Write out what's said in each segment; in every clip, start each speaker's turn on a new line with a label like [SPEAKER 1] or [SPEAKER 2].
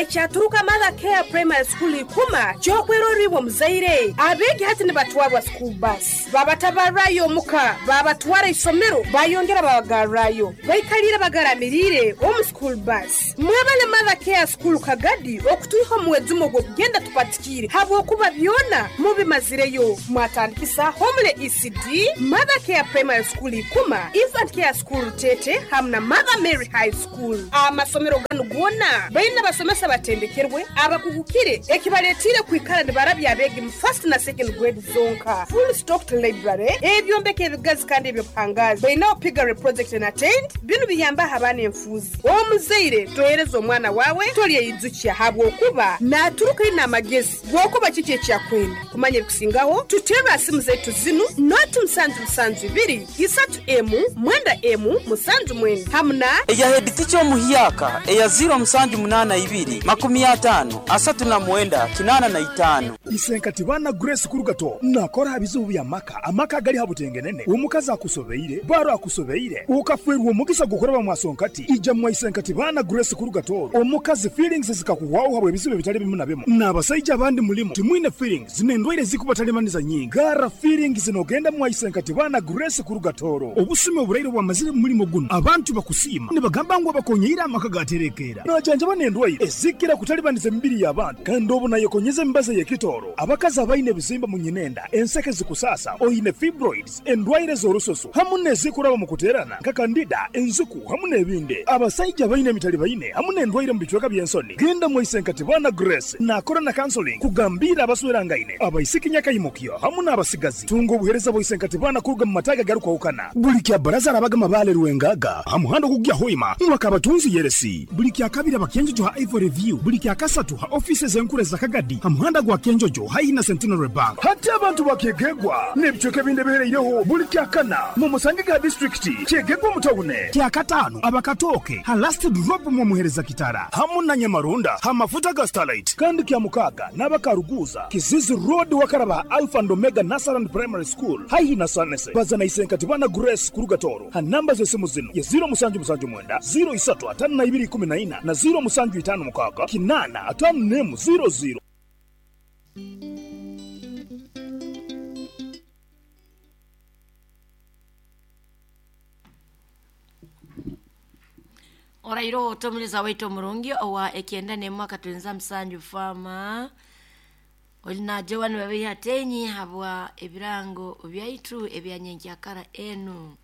[SPEAKER 1] Ekyaturuka Mother Care Primary School Ikuma ky'okwerorra iwe omuzaire. Abeegi hati nibatwarwa school bus, babatabarrayo omuka, babatwara isomero, bayongera babagarrayo. Baikaliire bagaramiriire omu school bus. Mwebale Mother Care School Kagadi okutwiha omu mwejumo ogw'okugenda tupatikiire habwokuba byona mubimazireyo. Mwatandikisa Homely ECD, Mother Care Primary School Ikuma, Infant Care School Rutete hamu na Mother Mary High School. Amasomero ganu goona baine abasomesa abatendekerwe, abakugukire ekibaletiire kwikara nibarabya abeegi mu first na second grade zonka. Full stocked library, ebyombeko ebigazi kandi eby'obuhangaazi. Bainaho piggery project and attained, binu biyambaho abaana enfuuzi. Omuzaire tohereza omwana waawe tolyeyijukya habwokuba naturuka aine amagezi g'okuba kiki ekyakwenda. Kumanya ebikusingaho tuterre ha simu zaitu zinu, noti musanju musanju ibiri, isatu emu, mwenda emu, musanju mwenda hamu na.
[SPEAKER 2] Eya heditica omuhyaka eya ziiro musanju munaana ibiri, 50, 39, 85.
[SPEAKER 3] Isenkati baana Grace Kurugato nakora ha bizibu bya maka, amaka agali ha butengenene, omukazi akusobeire, baro akusobeire, okafwerwa omugisa gw'okuraba mwa Sonkati, ija mwa Isenkati baana Grace Kurugato, omukazi feelings zikakuhwaho habw'ebizibu ebitali bimu na bimu, n'abasaija abandi mulimu timwine feelings n'endwaire ezikubatalibaniza nyingi, garra feelings nogenda mwa Isenkati baana Grace Kurugatoro. Obusumi oburaire obwamazire mu mulimo gunu, abantu bakusiima nibagamba ngu abakonyeire amaka gaterekeera. Najanjaba n'endwaire ezikira kutalibaniza emibiri y'abantu kandi obu nayekonyeza emibazi ey'ekitooro. Abakazi abaine ebizimba mu nyinenda, enseke zikusaasa, oine fibroids, endwaire z'orususu hamu n'ezikuraba omu kuteerana nka kandida, enziku hamu n'ebindi. Abasaija abaine emitalibaine hamu n'endwaire omu bicweka by'ensoni, genda mwaise nka Tibana Grace naakora na counseling kugambiira abaswerangaine, abaisiki nyakaimukyo hamu n'abasigazi. Tunga obuheereza bwa Isenkatibana kuruga mu mataagi agarukwahukana. Buli kya Baraza arabaga Mabaale Rwengaga ha muhanda ogukugya Hoima mwaka Abatunzi Yeresi. Buli kya Kabiri aba Kyenjojo ha Ivory View. Buli kya Kasatu ha ofiisi ez'enkuru eza Kagadi ha muhanda gwa Kyenjojo haihi na Centenary Bank. Hati abantu ba Kyegegwa n'ebicweka ebindi ebihereireho buli kya Kana mumusangege ha disiturikiti Kyegegwa omu tawune. Kya Kataano aba Katooke ha Last Drop mwomuhereza Kitara hamu na Nyamaronda ha mafuta ga Starlight. Kandi kya Mukaaga n'aba Karuguuza, Kizizi Road wakaraba ha Alpha and Omega Nursery and Primary School haihi na Sanese. Baza na Isenkatibana Grace kuruga Tooro ha namba z'esimu zinu ye ziiro musanju musanju mwenda, ziiro isatu ataano na ibiri ikumi na ina na ziiro musanju itaano mukaaga, kinaana ataano n'emu ziiro ziiro.
[SPEAKER 4] Oraire ota omuliza waitu omurungi owa ekyenda n'emu akatwenza musanju faama oli najewa nibabeiha tenyi habwa ebirango byaitu ebya nyenkyakara enu.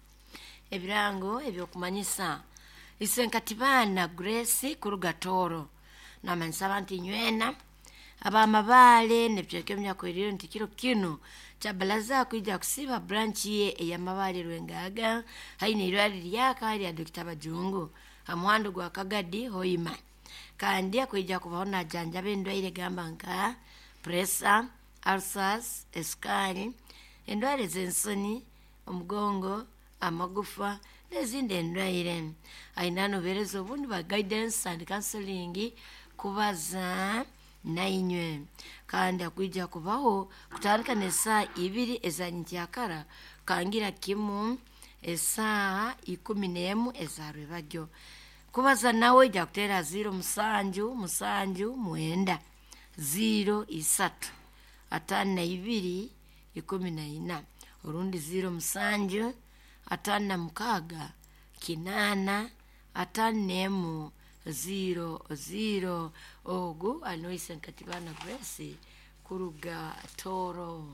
[SPEAKER 4] Ebirango eby'okumanyisa Isenkatibaana Grace kuruga Tooro namanyisa abantu inywena Ab'amabaale n'ebicweka ebinyakweriire nti kiro kinu Kyabalaza kwija kusiiba branch ye eya Mabaale Rwengaaga haihi n'eirwariro lyaka erya Dokita Bajungu ha muhanda ogwa Kagadi Hoima. Kandi akwija kubaho najanjaba endwaire gamba nka puresa, ulcers, esukaali, endwaire z'ensoni, omugongo, amagufa n'ezindi endwaire. Aine n'obuheereza obundi bwa guidance and counseling kubaza nainywe. Kandi akwija kubaho kutandika n'esaaha ibiri eza nyenkyakara kukangira kimu esaaha 11 eza rwebagyo. Kubaza nawe oija kuteera 0 musanju musanju mwenda, 0 isatu, 52 14 orundi 0 musanju 56 8 51 0 0. Ogu ali nuwe Isenkatibana Grace kuruga Tooro.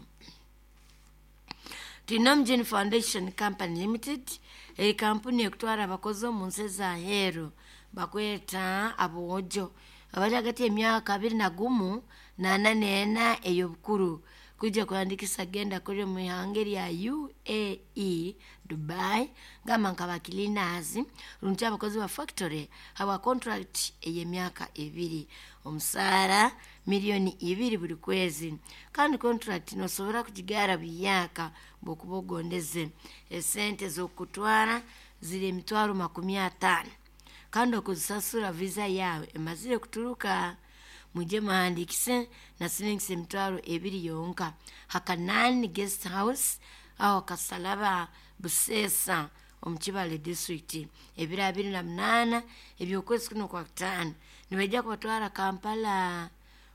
[SPEAKER 4] Twine Omujuni Foundation Company Limited eri kampuni ekutwara abakozi omu nsi ez'aheeru bakweta aboojo abali hagati y'emyaka 21 n'ana n'ena ey'obukuru kwija kuhandikisa kugenda kurya omu ihanga erya UAE, Dubai, gamba nka ba cleaners rundi abakozi ba factory habwa contract ey'emyaka ebiri. Omusaara milioni ibiri buli kwezi kandi contract nosobora kugigara buhyaka bwokuba ogondeze. Esente z'okukutwara ziri emitwaro 50 kandi okuzisasura visa yaawe emazire kuturuka. Mwije muhandikise na siringisi 2000 yonka ha Kanani Guest House aho Kasalaba Buseesa omu Kibale district ebiro 28 eby'okwezi kuno kwa kutaano Nibaija kubatwara Kampala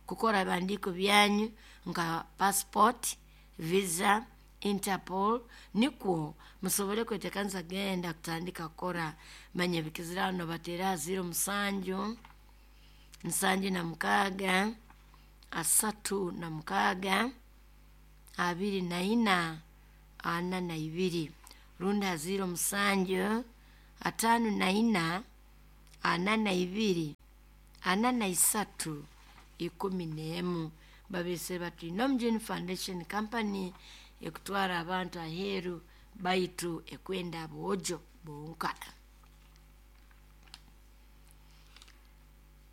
[SPEAKER 4] kukora ebihandiiko byanyu nka passport, visa, Interpol, nikwo musobole kwetekanisa genda kutandika kukora. Manya ebikizira hano bateera 07 76 36 24 42 rundi 07 54 42 43 11. Babese bati Nomjuni Foundation Company ekutwara abantu aheeru baitu ekwenda aboojo bonka.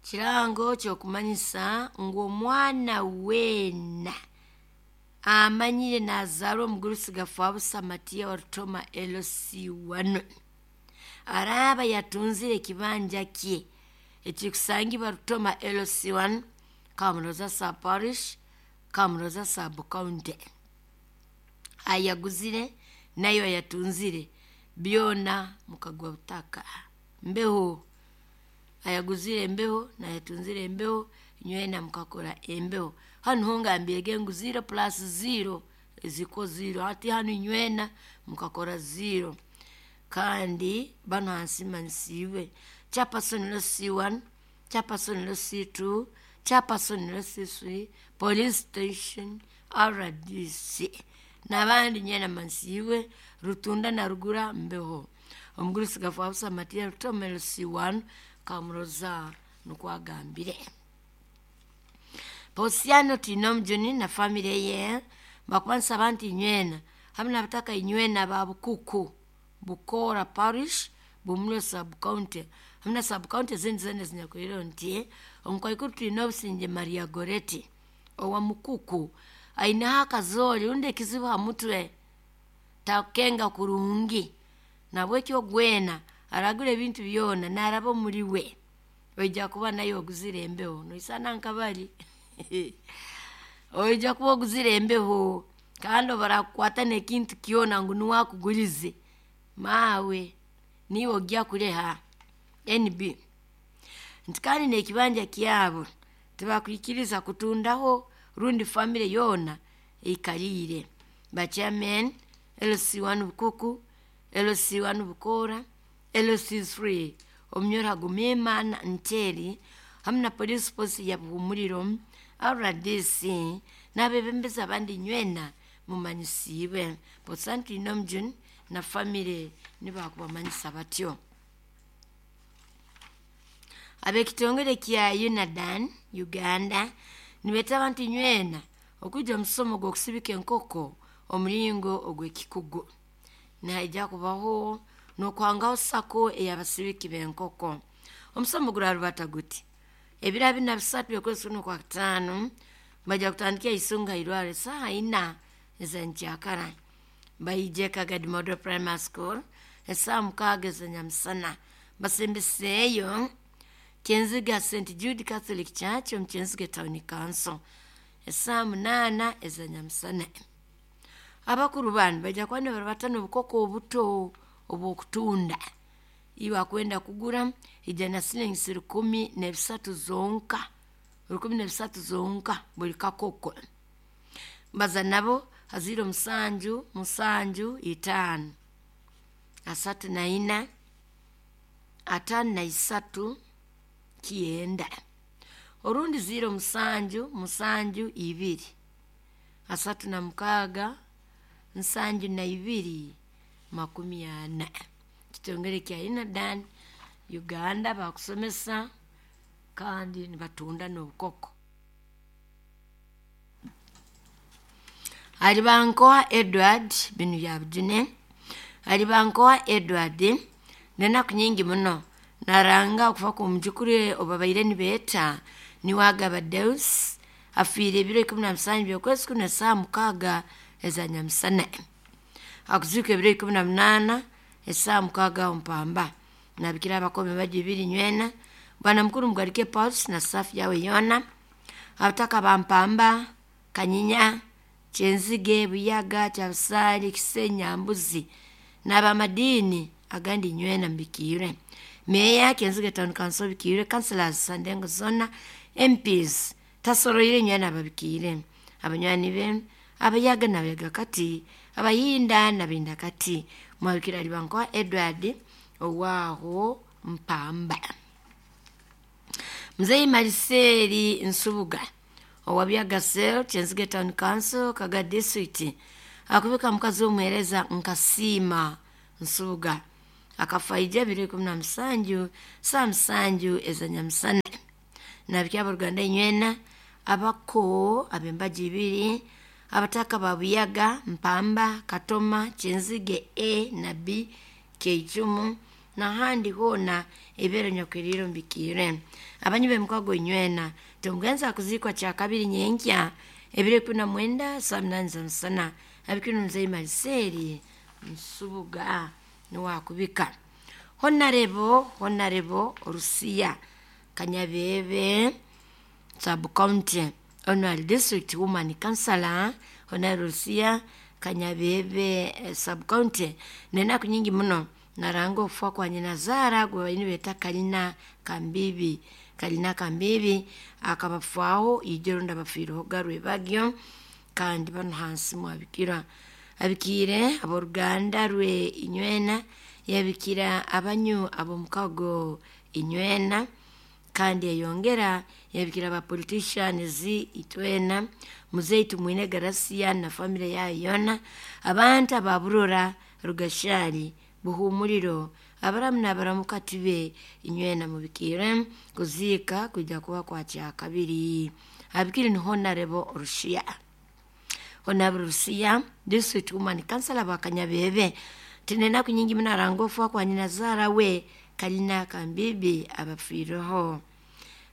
[SPEAKER 4] Kirango kyokumanyisa ngu omwana weena amanyire nazaarwa omugurusi gafa Busamatiya wa Rutoma LC1 araaba yatunzire ekibanja kye ekikusangibwa Rutoma LC1 Kamuroza sub parish, Kamuroza sub county, ayaguzire nayo ayatunzire byona mukagwa butaka mbeho. Ayaguzire embeho nayatunzire embeho, nywena mukakora embeho. Hanu hongambirege ngu 0 plus 0 ziko 0, hati hanu nywena mukakora 0. Kandi bano hansi mansiwe chairperson lo C1, chairperson lo C2, chairperson lo C3, police station, RDC n'abandi nywena mansiwe Rutunda na Rugura mbeho. Omugurusi gafa Busamatiya Rutoma C1 Kamuroza nukwagambire. Posiano Tinomjuni na family ye bakubanisa abantu inywena hamwe n'abataka inywena ba Bukuku Bukora parish Bumule sub county hamwe na sub county ezindi zene zinyakwire nti omukaikuru twine Obusinge Maria Goreti owa Mukuku aineho akazooli rundi ekizibu ha mutwe takukenga kurungi, nabwekyo gwena aragura ebintu byona naraba omuri we oija kuba naye oguzire embeho noisana nkabali oija kuba oguzire embeho kandi obarakukwata n'ekintu kyona ngu niwe akugurize maawe niiwe ojja kureha NB. Nti kandi n'ekibanja kyabo tibakwikiriza kutundaho rundi famire yoona eikariire. Ba chairman LC1 Bukuku, LC1 Bukora, LC3 Omunyoro Gumimana Nteri hamwe na police post ya Buhumuriro RDC n'abebembezi abandi nywena mumanyisiibwe. Posanti Nomjun na famire nibakubamanyisa batyo. Ab'ekitongole kya UNADAN Uganda nibeeta abantu nywena okwija omusomo gw'okusibika enkoko omuringo ogw'ekikugu. Nihaija kubaho n'okwangaho sako ey'abasibiki b'enkoko. Omusomo gurarubata guti ebiro 43 by'okwezi kuno kwa 5 baija kutandika Isunga irwaro saaha 4 ez'enkyakara. Baije Kagadi Model Primary School esaaha 6 ez'enyamusana. Basembeseeyo Kyenziga St Jude Catholic Church omu Kyenziga Town Council esaaha 8 ez'enyamusana. Abakuru banu baija kuba nibarubata n'obukoko obuto obw'okutunda. Iwe akwenda kugura ija na silingisi 13 zonka, 13 zonka buli kakoko. Baza nabo 07 7 5 34 53 9 orundi 07 7 2 36 72 40. Kitongole kya UNADAN Uganda bakusomesa kandi nibatunda n'obukoko. Alibankoa Edward binu bya Bujune. Alibankoa Edward nenaku nyingi muno naranga okufa ku mujukuru obabaire nibeeta niwagaba Deus afiire ebiro 17 by'okwezi kuno esaaha 6 ez'anyamusana. Akuziika ebiro 18 esaaha 6 ompamba. Nabikira abakome baji 2 nywena bwana mukuru Mugarike Pauls na safu yawe yona abataka bampamba Kanyinya Kyenzige Buyaga Kyabusali Kisenya Mbuzi n'abamadini agandi nywena mbikiire. Meya Kyenzige Town Council bikiire, councillors Sandengo zona, MPs tasoroire nywena ababikiire, abanywani be abayaga n'abayaga kati, abayinda n'abayinda kati. Mwabikira alibankwa Edward owaaho Mpamba. Mzee Mariseli Nsubuga owa Byagasel Kyenzige Town Council Kaga District akubika mukazi w'omuheereza Nkasiima Nsubuga akafaija 2017 saa 7 ezanyamusana. Nabiki aboruganda inywena abako abembaji ibiri abataka ba Buyaga, Mpamba, Katoma, Kyenzige A na B, Keichumu nahandi hona ebero nyakwiriro mbikire. Abanyu b'emikwago inywena tomugenza akuzikwa kya kabiri nyenkya 2019 saa 8 za musana. Abikino mzee Mariseli Nsubuga niwakubika. Honarebo Orusiya Kanyabebe sub county Honorary District Woman Councillor Honorary Rusiya Kanyabebe sub county nenaku nyingi muno naranga okufa kwa nyina zara gwe baini beta Kalina Kambibi. Kalina Kambibi akabafaho ijoro ndabafiireho garwe bagyo kandi bano hansi mwabikira abikire aboruganda rwe inywena yabikira abanyu abomukago inywena kandi yayongera yabikira ba politicians itwena Muzei Tumwine Garasia na family yayo yona, abantu ababurora Rugashari Buhumuriro abaramu n'abaramukati be inywena mubikire kuziika kujya kuba kwa kya kabiri. Abikire ni Honorable Rushia. Honorable Rusia District Woman Councillor bakanyabebe tinena kunyingi mnarangofu kwa nyina zara we Kalina Kambibi abafiireho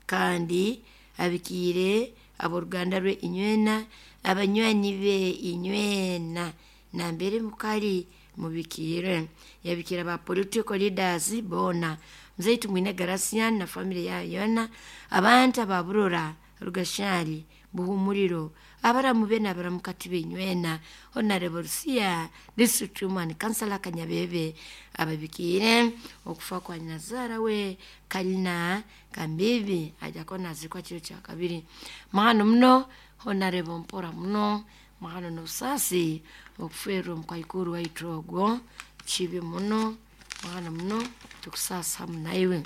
[SPEAKER 4] kandi abikire aboruganda rwe inywena abanywanyi be inywena nambere mukali mubikire yabikira ba political leaders bona Mzee Tumwine Garasian na family yayo yona, abantu ababurora Rugashari Buhumuriro abaramu be n'abaramukati b'inywena. Honorable Rusiya District Woman Councillor Kanyabebe ababikire okufa kwa nyina we Kalina Kambibi ajya ko nazikwa kiro kya kabiri. Mahano muno Honorable mpora muno mahano n'obusasi okuferwa omukaikuru waitu ogwo kibi muno mahano muno tukusasa hamu naiwe.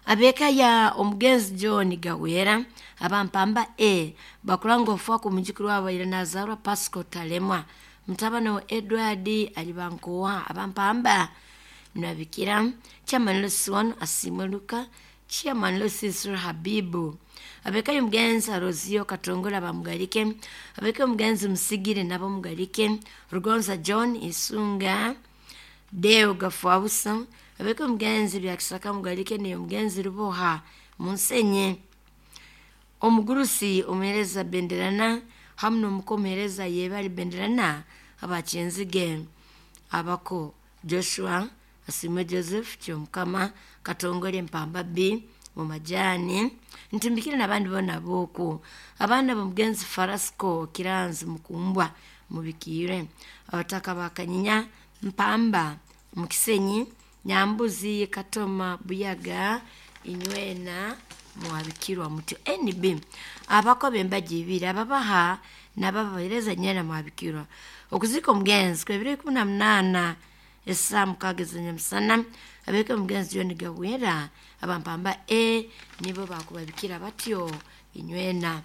[SPEAKER 4] Abeka ya omugenzi John Gawera abampamba A bakuranga ofuwa ku mujukuru wabo ira nazarwa Pasco Talemwa mutabani wa Edward alibankowa abampamba nabikira Chairman Lusiwano Asimwe Luka Chairman Lusisu Habibu abeka y'omugenzi Arozio Katongola bamugalike abeka y'omugenzi Musigire nabo mugalike Rugonza John Isunga Deo Gafuabusa abeka omugenzi Byakisaka mugalike ne omugenzi Ruboha Munsenye omugurusi omuhereza Benderana hamu n'omukomuhereza Yebali Benderana abakyenzige abako Joshua Asimwe Joseph Kyomukama Katongole Mpamba B mu majani ntimbikire n'abandi bona boku abaana b'omugenzi Farasco Kiranzi Mukumbwa mubikire abataka bakanyinya Mpamba Mukisenyi Nyambuzi Katoma Buyaga inywena mwabikirwa mutyo NB abako bembaji ibiri ababaha n'ababahereza nywena mwabikirwa okuzika omugenzi kwebiro 18 esaa 6 z'enyamusana abeka omugenzi John Gawera abampamba A nibo bakubabikira batyo inywena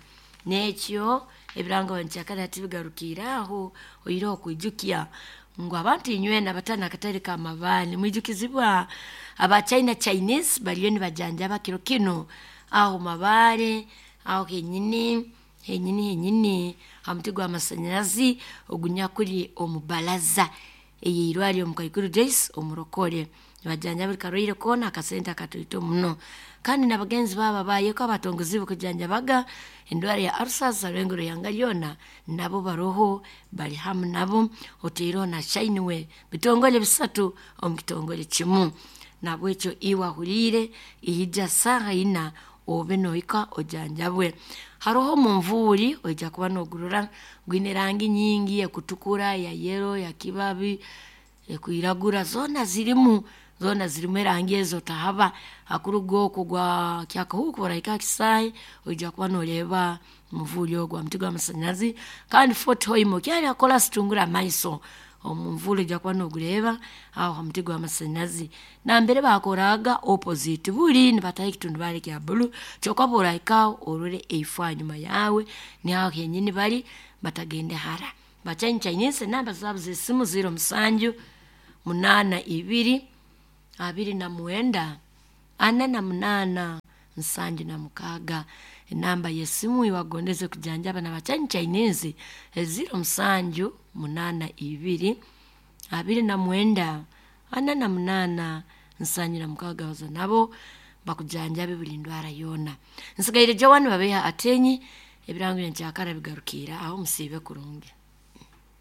[SPEAKER 4] nekyo ebirango nkyakana tibigarukira aho oyire okwijukya ngu abantu inywena batana akatare ka mabaani mwijukizibwa aba China Chinese bariyo nibajanjaba kiro kino aho mabaare aho henyini henyini henyini ha muti gw'amasanyarazi ogunyakuri omubalaza eyirwari omukaikuru Joyce omurokore nibajanja buli karwaire koona akasente akatoito muno kandi n'abagenzi baba bayeko abatongozi bokujanjabaga endwara ya ulcers rwengero yanga lyona nabo baroho bali hamu nabo oteireho na Shineway bitongole bisatu omu kitongole kimu nabwekyo iwe ahuriire ihija saaha ina obe nohika ojanjabwe. Haroho omunvuuri oija kuba nogurora gwine erangi nyingi ekutukura, ya yero, ya kibabi, ekwiragura zoona zirimu. Zoona zirimu erangi ezo tahaba. Hakuruga okwo gwa Kyakahuuku orahika ha kisaayi, oija kuba nooreeba omuvuuri ogwo ha muti gw'amasanyarazi. Kandi Fort Hoima okyali ha koraasi tungura amaiso, omunvuuli oija kuba noogureeba aho ha muti gw'amasanyarazi. Nambere baakoraga opposite buli nibataho ekitundubaare kya blue, kyokka obu orahikaho orole eifo hanyuma yaawe, niho aho henyini bali, batagende hara. Ba Chinese enamba zaabo z'esimu 07 82 29 48 76. Enamba y'esimu iwagondeze kujanjaba na Chinese 07 82 29 48 76 baza nabo bakujanjabe buli ndwara yoona. Nsigaire Joan Babeha Atenyi, ebirango nkyakara bigarukiira aho, musiibe kurungi.